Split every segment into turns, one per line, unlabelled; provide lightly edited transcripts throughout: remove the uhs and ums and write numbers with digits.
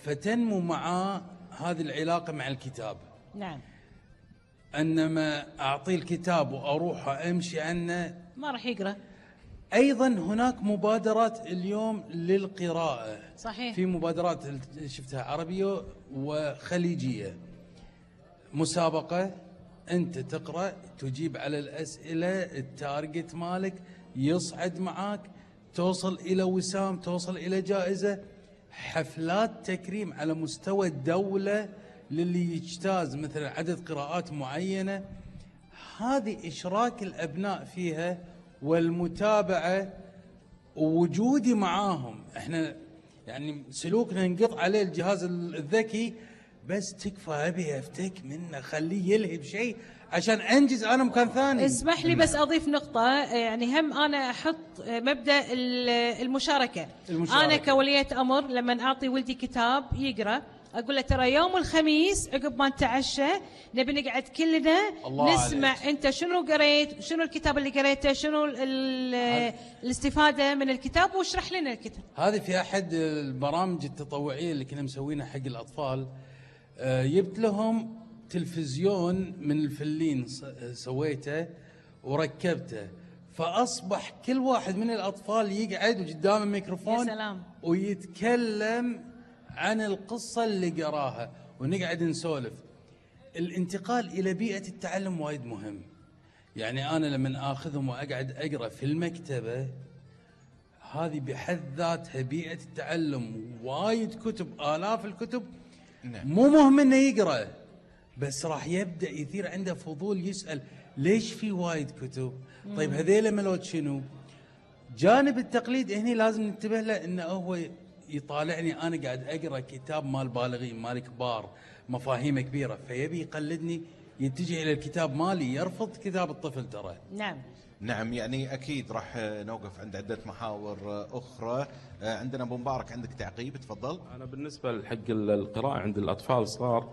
فتنمو معاه هذه العلاقة مع الكتاب.
نعم.
انما اعطيه الكتاب واروح امشي عنه
ما راح يقرأ.
ايضا هناك مبادرات اليوم للقراءة.
صحيح.
في مبادرات شفتها عربية وخليجية، مسابقة انت تقرأ تجيب على الاسئلة، التارجت مالك يصعد معاك، توصل الى وسام، توصل الى جائزة، حفلات تكريم على مستوى الدولة للي يجتاز مثلا عدد قراءات معينة. هذه إشراك الأبناء فيها والمتابعة ووجودي معاهم. احنا يعني سلوكنا نقط عليه الجهاز الذكي، بس تكفى أبي أفتك منه، خليه يلهي بشيء عشان أنجز أنا مكان ثاني.
اسمح لي بس أضيف نقطة، يعني هم أنا أحط مبدأ المشاركة. أنا كولية أمر لما أعطي ولدي كتاب يقرأ أقول له ترى يوم الخميس عقب ما نتعشى نبي نقعد كلنا نسمع عليك. أنت شنو قريت، شنو الكتاب اللي قريته، شنو الاستفادة من الكتاب، واشرح لنا الكتاب.
هذه في أحد البرامج التطوعية اللي كنا مسوينها حق الأطفال، جبت لهم تلفزيون من الفلين سويته وركبته، فأصبح كل واحد من الأطفال يقعد قدام الميكروفون ويتكلم عن القصة اللي قراها ونقعد نسولف. الانتقال إلى بيئة التعلم وايد مهم. يعني أنا لما آخذهم وأقعد أقرأ في المكتبة، هذه بحد ذاتها بيئة التعلم، وايد كتب، آلاف الكتب. مو مهم إنه يقرأ، بس راح يبدأ يثير عنده فضول، يسأل ليش في وايد كتب؟ طيب هذيلا ملوت شنو؟ جانب التقليد هنا لازم ننتبه له، إنه هو يطالعني أنا قاعد أقرأ كتاب مال بالغين مال كبار مفاهيم كبيرة، فيبي يقلدني، يتجه إلى الكتاب مالي، يرفض كتاب الطفل ترى.
نعم يعني أكيد راح نوقف عند عدة محاور أخرى. عندنا أبو مبارك، عندك تعقيب؟ تفضل.
أنا بالنسبة حق القراءة عند الأطفال صغار،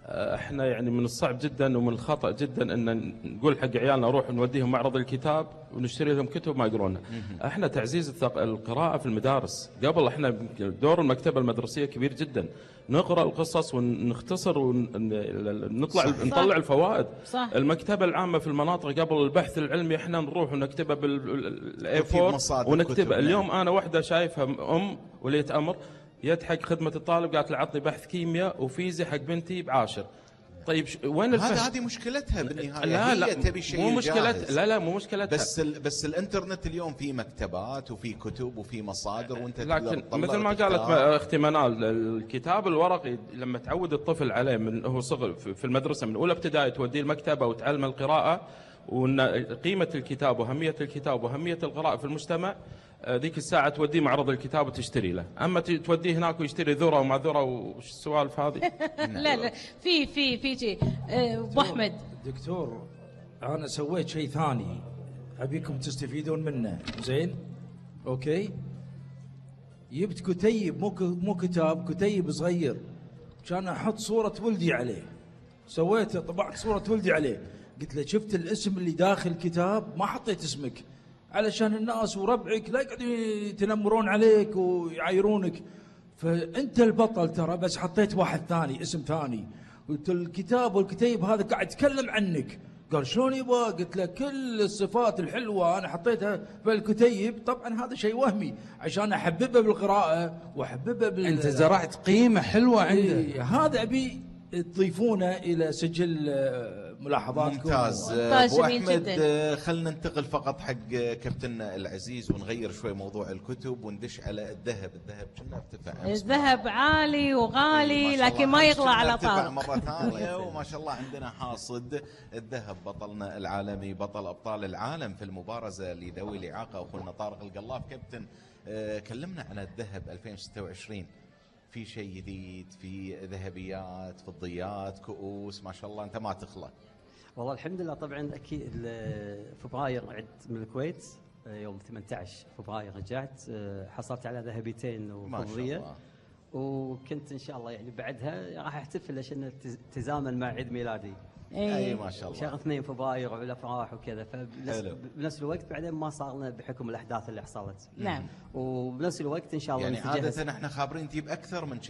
احنا يعني من الصعب جدا ومن الخطأ جدا ان نقول حق عيالنا روح نوديهم معرض الكتاب ونشتري لهم كتب ما يقرونها. احنا تعزيز القراءة في المدارس قبل، احنا دور المكتبة المدرسية كبير جدا، نقرأ القصص ونختصر نطلع الفوائد.
صح.
المكتبة العامة في المناطق قبل البحث العلمي احنا نروح ونكتبها بالA4 ونكتبها. اليوم انا واحدة شايفها ولية امر يضحك خدمة الطالب قالت له عطني بحث كيمياء وفيزياء حق بنتي ب10. طيب وين الفهم؟
هذه مشكلتها بالنهاية.
لا
هي تبي شيء
مو مشكلتها. لا مو مشكلتها.
بس الانترنت اليوم في مكتبات وفي كتب وفي مصادر، وانت
لكن مثل ما قالت اختي منال، الكتاب الورقي لما تعود الطفل عليه من هو صغر في المدرسة من اولى ابتدائي، توديه المكتبة وتعلم القراءة وان قيمة الكتاب وأهمية الكتاب وأهمية القراءة في المجتمع، ذيك الساعة توديه معرض الكتاب وتشتري له. أما توديه هناك ويشتري ذرة وما ذرة وش السوالف هذه؟
لا في شيء. أبو أحمد
دكتور، أنا سويت شيء ثاني أبيكم تستفيدون منه. زين أوكي، جبت كتيب، مو كتاب، كتيب صغير كان أحط صورة ولدي عليه. طبعت صورة ولدي عليه، قلت له شفت الاسم اللي داخل الكتاب، ما حطيت اسمك علشان الناس وربعك لا يقعدوا يتنمرون عليك ويعايرونك، فأنت البطل ترى، بس حطيت واحد ثاني، اسم ثاني. قلت الكتاب والكتيب هذا قاعد يتكلم عنك. قال شلون يبا؟ قلت له كل الصفات الحلوة أنا حطيتها في الكتيب. طبعا هذا شيء وهمي عشان أحببه بالقراءة وأحببه
أنت زرعت قيمة حلوة عنده.
هذا أبي تضيفونه إلى سجل ملاحظاتكم.
ممتاز. أبو أحمد، خلنا ننتقل فقط حق كابتننا العزيز ونغير شوي موضوع الكتب وندش على الذهب. كنا ارتفع،
الذهب عالي وغالي لكن ما يغلى على طارق
مرة ثانية. وما شاء الله عندنا حاصد الذهب، بطلنا العالمي، بطل أبطال العالم في المبارزة لذوي الإعاقة، أخونا طارق القلاف. كابتن، كلمنا عن الذهب 2026. في شيء جديد؟ في ذهبيات، فضيات، كؤوس، ما شاء الله أنت ما تخلى.
والله الحمد لله. طبعا أكيد فبراير عدت من الكويت، يوم 18 فبراير رجعت، حصلت على ذهبيتين وفضية، وكنت إن شاء الله يعني بعدها راح أحتفل عشان تزامن مع عيد ميلادي.
اي ما شاء الله،
شهر 2 فبراير والافراح وكذا، فبنفس الوقت بعدين ما صار لنا بحكم الاحداث اللي حصلت.
نعم.
وبنفس الوقت ان شاء الله
يعني عاده احنا خابرين تجيب اكثر من